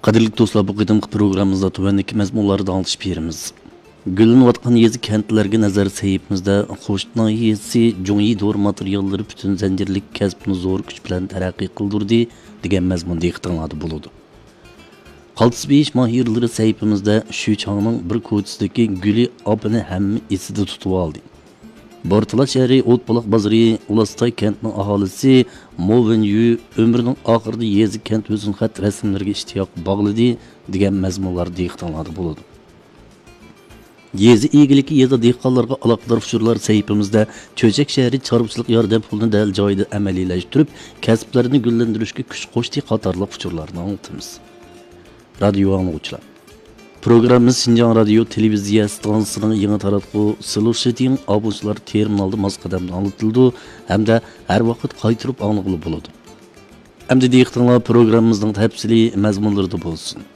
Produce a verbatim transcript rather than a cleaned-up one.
قەدىرلىك دوستلار، بۇ قېتىمقى پروگراممىمىزدا تۆۋەندىكى مەزمۇنلاردا ئاڭلىتىش بېرىمىز. گۈللىنىۋاتقان يېزا كەنتلەرگە نەزەر سەھىپىمىزدە خوشۇت ناھىيەسى جۇڭيى دورا ماتېرىياللىرى پۈتۈن زەنجىرلىك كەسىپنى زور كۈچ بىلەن تەرەققىي قىلدۇردى دېگەن مەزمۇن دىققىتىڭلاردا بولىدۇ. قالتىس بېيىش ماھىرلىرى سەھىپىمىزدە شۈچاڭنىڭ بىر كوچىسىدىكى گۈلى ئاپىنى ھەممە ئېسىدە تۇتۇۋالدى. بورتالا شەھىرى ئوتبۇلاق بازىرى ئۇلاستاي كەنتىنىڭ ئاھالىسى مو ۋېنيۈ ئۆمرىنىڭ ئاخىرىدا يېزا كەنت ھۆسنخەت رەسىملىرىگە ئىشتىياق باغلىدى دېگەن مەزمۇنلار دىققىتىڭلاردا بولىدۇ. يېزا ئىگىلىكى يېزا دېھقانلارغا ئالاقىدار ئۇچۇرلار سەھىپىمىزدە چۆچەك شەھىرى چارۋىچىلىق ياردەم پۇلىنى دەل جايىدا ئەمەلىيلەشتۈرۈپ، كەسىپلەرنى گۈللەندۈرۈشكە كۈچ قوشتى قاتارلىق ئۇچۇرلارنى ئاڭلىتىمىز. رادىيو ئاڭلىغۇچىلار، پروگراممىمىز شىنجاڭ رادىيو تېلېۋىزىيە ئىستانسىسىنىڭ يېڭى تاراتقۇ سلوشىتىڭ ئابۇنچىلار تېرمىنالدا ماس قەدەمدە ئاڭلىتىلىدۇ ھەمدە ھەر ۋاقىت قايتۇرۇپ ئاڭلىغىلى بولىدۇ. ئەمدى دىققىتىڭلار پروگراممىمىزنىڭ تەپسىلىي مەزمۇنلىرىدا بولسۇن.